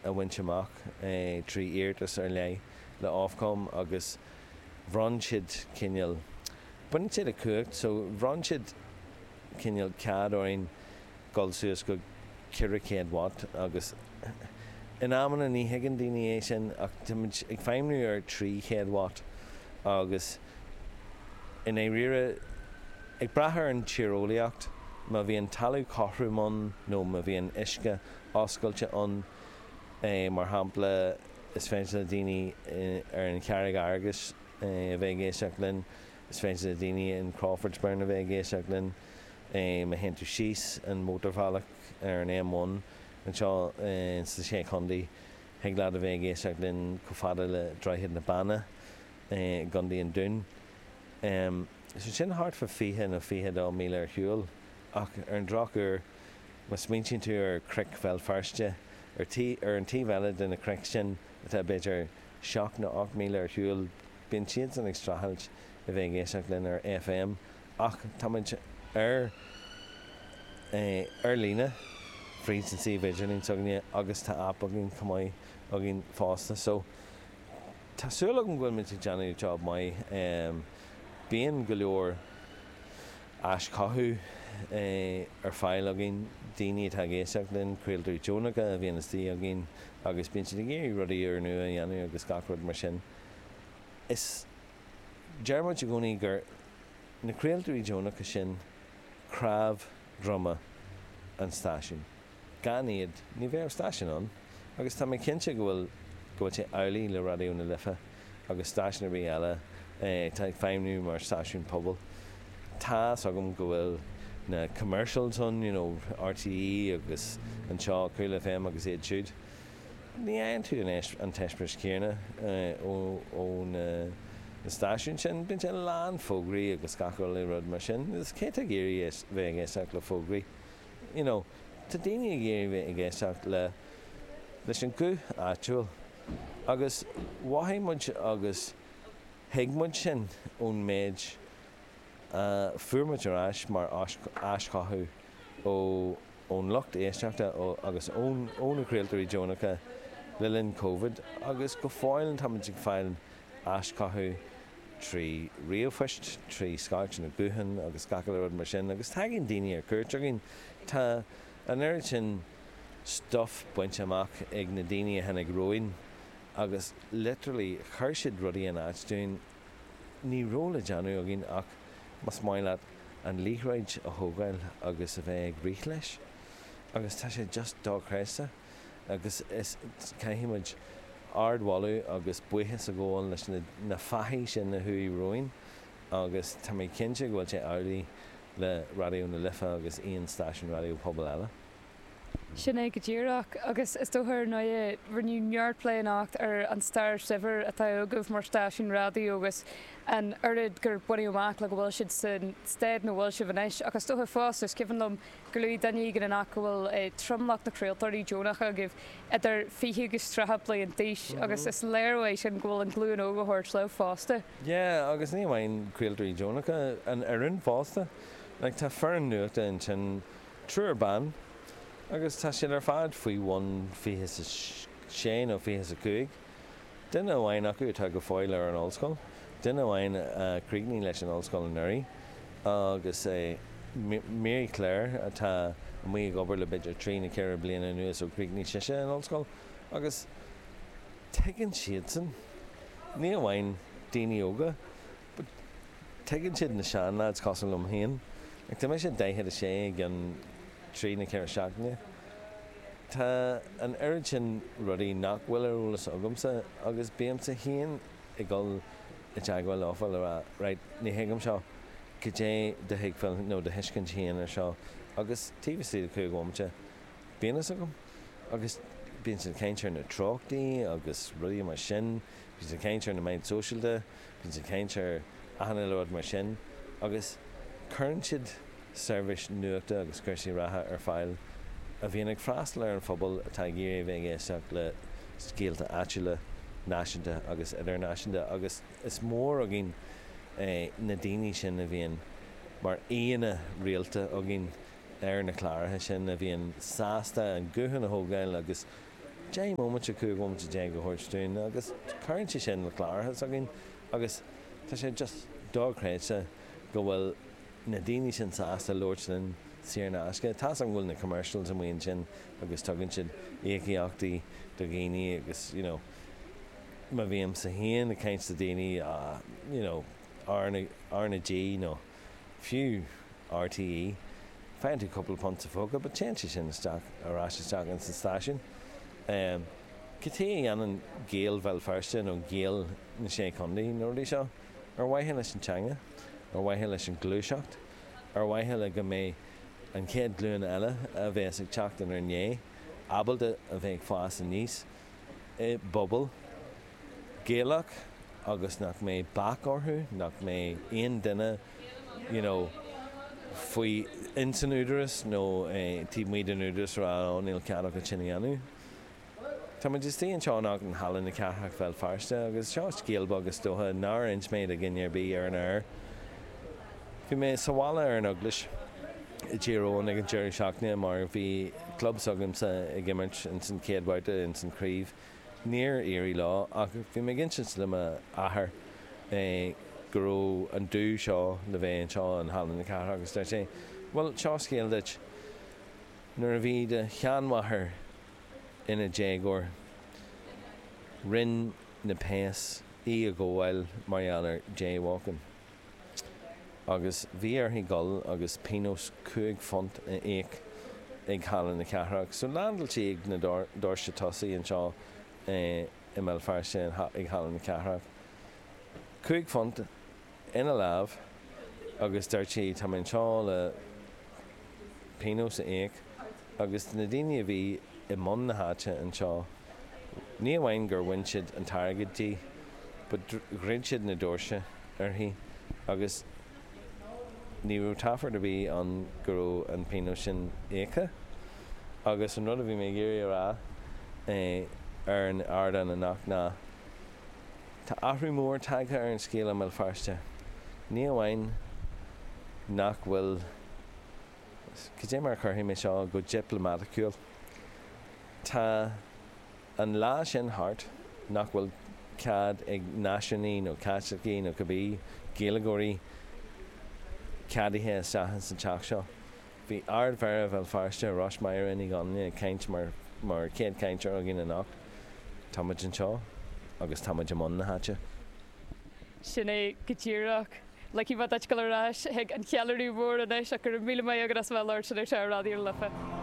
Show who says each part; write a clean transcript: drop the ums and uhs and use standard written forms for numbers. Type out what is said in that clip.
Speaker 1: a bhaint amach trí iarratas ar leith le Ofcom agus bhronn siad cineál, baineann sé le cumhacht, so bhronn siad cineál cead orainn dul suas go 400 watt agus in amanna ní thuigeann daoine é sin ach táimid ag feidhmniú ar 300 watt agus i ndáiríre ag brath ar an tíreolaíocht, má bhíonn talamh cothrom ann nó má bhíonn uisce oscailte ann, mar shampla, is féidir le daoine ar an Charraig Fhearghais a bheith ag éisteacht linn, is féidir le daoine in Crawfordsburn a bheith ag éisteacht linn, má théann tú síos an mótarbhealach ar an M1 anseo sna Sé Chontae, thig leat a bheith ag éisteacht linn chomh fada le Droichead na Banna i gContae an Dúin. So sin thart fá 20 nó 22 míle ar shiúl ach ar an drochuair má smaointíonn tú ar Chnoic Bhéal Feirste, ar ar an taobh eile de na cnoic sin atá b'fhéidir seacht nó 8 míle ar shiúl, bíonn siadsan ag streachailt a bheith ag éisteacht linn ar FM. Ach táimid ar ar líne fríd an suíomh idirlín s'againne agus tá aip againn chomh maith againn fosta. So tá súil agam go bhfuil muid ag déanamh job maith. Bíonn go leor aischothú ar fáil againn, daoine atá ag éisteacht linn, craoltóirí deonacha a bhíonn istigh againn agus bíonn siad ag iarraidh rudaí úrnua a dhéanamh agus gach rud mar sin. Is deir muid i gcónaí gur na craoltóirí deonacha sin cnámh droma an stáisiúin. Gan iad, ní bheadh stáisiún ann. Agus tá mé cinnte go bhfuil go bhfuil sé amhlaidh le Raidió na Life agus stáisiún ar bith eile atá ag feidhmniú mar stáisiún pobail. Tá's agam go bhfuil na commercials ann, you know, RTÉ agus anseo Cool FM agus iad siúd. Ní fhaigheann tú an t-eispéireas céanna ó na stáisiúin sin. Bíonn sé lán fógraí agus gach uile rud mar sin. Is cé atá ag iarraidh bheith ag éisteacht le fógraí? You know, tá daoine ag iarraidh bheith ag éisteacht le leis an guth áitiúil. Agus mhothaigh muid agus thuig muid sin ón méid a fuair muid ar ais mar aischothú ó ón lucht éisteachta agus ó na craoltóirí deonacha le linn Covid agus go fóill táimid ag fáil aischothú trí ríomhphoist, trí scairteanna gutháin agus gach uile rud mar sin agus tagann daoine ar cuairt chugainn. Tá an oiread sin stuff bainte amach ag na daoine a tháinig romhainn agus literally chuir siad rudaí in áit dúinn, ní raibh le déanamh againn ach más maith leat an liathróid a thógáil agus a bheith ag rith leis agus tá sé just dochreidte agus is caithfidh muid ardmholadh agus buíochas a ghabháil leis na na fathaigh sin a chuaigh romhainn agus tá mé cinnte go bhfuil sé amhlaidh le Raidió na Life agus aon stáisiún raidió pobail eile.
Speaker 2: Sin é go díreach. Agus is dócha, ar ndóigh, rinneadh neart plé anocht ar an stair shaibhir atá agaibh mar stáisiún raidió agus an oiread gur baineadh amach le go bhfuil sibh san staid ina bhfuil sibh anois. Ach is dócha fosta, is cuimhin liom gur luaigh duine éigin anocht go bhfuil tromlach na craoltóirí deonacha agaibh idir 20 agus 30 bliain d'aois agus is léir uaidh sin go bhfuil an ghlúin óg á thabhairt leo fosta.
Speaker 1: Yeah, agus ní amháin craoltóirí deonacha, an fhoireann fosta. Like, tá foireann nuachta ansin Triúr ban, agus tá siad ar fad faoi bhun 26 nó 25. Duine amháin acu atá go fóill ar an ollscoil, duine amháin a chríochnaigh leis an ollscoil anuraidh, agus Mary Claire atá amuigh ag obair le b'fhéidir trí nó ceithre bliana anuas ó chríochnaigh sise an ollscoil. Agus tuigeann siadsan, ní amháin daoine óga, But tuigeann siad na seanleaids cosúil liom féin. Like tá mise 46 i gceann trí nó ceithre seachtaine. Tá an oiread sin rudaí nach bhfuil ar eolas agamsa agus bímse féin ag dul i dteagmháil leofa le rá right ní thuigim seo, goidé do thuigbheáil nó do thuiscint féin ar seo agus taobh istigh de chúig bhomaite bíonn fhios agam agus bíonn siad ag caint ar na treochtaí agus rudaí mar sin, bíonn siad ag caint ar na meáin sóisialta. Bíonn siad ag caint ar achan uile rud mar sin agus cuireann siad seirbhís nuachta agus cúrsaí reatha ar fáil a bhíonn ag freastal ar an phobal atá ag iarraidh a bheith ag éisteacht le scéalta áitiúla, náisiúnta agus idirnáisiúnta agus is mór againn na daoine sin a bhíonn mar aíonna rialta againn ar na cláracha sin, a bhíonn sásta an guthán a thógáil agus. 10 mbomaite, 15 bhomaite a thabhairt dúinn agus cuireann sé sin le cláracha s'againn agus tá sé just dochreidte go bhfuil na daoine sin sásta labhairt linn saor in aisce. Tá's agam go bhfuil na commercials amuigh ansin agus tugann siad íocaíochtaí do dhaoine agus you know má bhímse féin ag caint le daoine ah you know R na R na G nó fiú RTÉ faigheann tú cúpla punt sa phóca but téann sé sin isteach ar ais isteach ins an stáisiún. Cad chuige a dhéanann Gaeil Bhéal Feirste nó Gaeil na Sé Chontae na rudaí seo? Ar mhaithe leis an teanga, ar mhaithe leis an ghluaiseacht, ar mhaithe le go mbeidh an chéad ghlúin eile a bheas ag teacht inár ndiaidh ábalta a bheith ag fás aníos i bpobal Gaelach agus nach mbeidh bac orthu, nach mbeidh aon duine you know faoi ins an údaras nó taobh amuigh den údaras a rá oh níl cead agat sin a dhéanamh. Tá muid istigh anseo anocht in Halla na Cathrach, Bhéal Feirste agus seo scéal beag is dócha nár inis mé do dhuine ar bith ar an aer. Bhí mé sa bhaile ar an Eaglais i dTír Eoghain ag an deireadh seachtaine mar bhí club s'agamsa ag imirt ins an chéad bhabhta ins an chraobh. Níor éirigh leo ach bhí mé ag insint le m'athair go raibh an dúch seo le bheith anseo in Halla na Cathrach agus deir sé, bhuel seo scéal duit, nuair a bhí do sheanmháthair ina déagóir, rinne na péas í a ghabháil mar gheall ar jaywalking agus bhí uirthi dul agus pionós £5 a íoc ag Halla na Cathrach. So landáil sí ag na doirse tosaigh anseo i mBéal Feirste ag Halla na Cathrach. £5 ina lámh agus dúirt sí tá mé anseo le pionós a íoc agus na daoine a bhí i mbun na háite anseo ní amháin gur bhain siad an t-airgead di but dhruid siad na doirse uirthi agus ní raibh taifead ar bith ann go raibh an pionós sin íoctha. Agus an rud a bhí mé ag iarraidh a rá ar an ardán anocht ná Tá athrú mór tagtha ar an scéal i mBéal Feirste. Ní amháin nach bhfuil, cad é mar a chuirfidh mé seo go dioplamaiticiúil, tá an lá sin thart nach bhfuil cead ag náisiúnaigh nó Caitlicigh nó cibé Gaeilgeoirí ceadaithe isteach ins an teach seo. Bhí Ard-Mhéara Bhéal Feirste, Róis-Máire Ní Dhonnaile, ag caint mar mar chéad chainteoir againn anocht. Tá muid anseo agus tá muid i mbun na háite.
Speaker 2: Sin é go díreach. Ligfidh mé duit dul ar ais chuig an cheiliúradh mór anois ach go raibh míle maith agat as a bheith ag labhairt linn anseo ar Raidió na Life.